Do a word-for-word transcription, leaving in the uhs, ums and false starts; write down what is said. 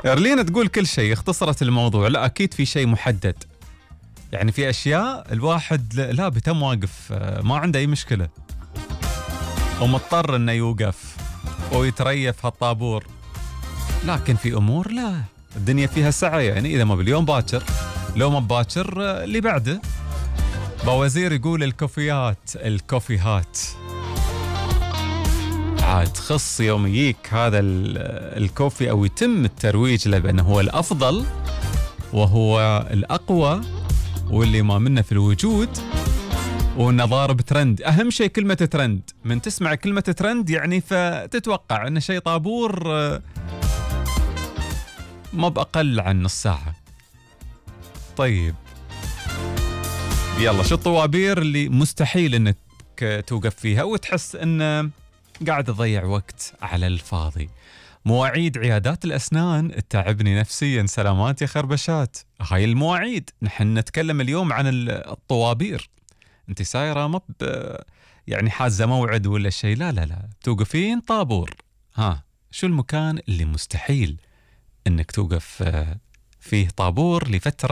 ارلين تقول كل شيء، اختصرت الموضوع. لا اكيد في شيء محدد، يعني في اشياء الواحد لا بتم واقف ما عنده اي مشكله ومضطر انه يوقف ويتريف هالطابور، لكن في امور لا، الدنيا فيها سعه، يعني اذا ما باليوم باكر لو ما باكر اللي بعده. بوزير يقول الكوفيات الكوفيهات عاد خص يوم يجيك هذا الكوفي او يتم الترويج له بانه هو الافضل وهو الاقوى واللي ما منه في الوجود وانه ضارب ترند. اهم شيء كلمه ترند، من تسمع كلمه ترند يعني فتتوقع انه شيء طابور ما بأقل عن نص ساعه. طيب يلا، شو الطوابير اللي مستحيل انك توقف فيها وتحس انه قاعد تضيع وقت على الفاضي؟ مواعيد عيادات الأسنان تتعبني نفسيا. سلامات يا خربشات. هاي المواعيد، نحن نتكلم اليوم عن الطوابير. انت سايرة ما يعني حازة موعد ولا شيء، لا لا لا توقفين طابور. ها شو المكان اللي مستحيل انك توقف فيه طابور لفترة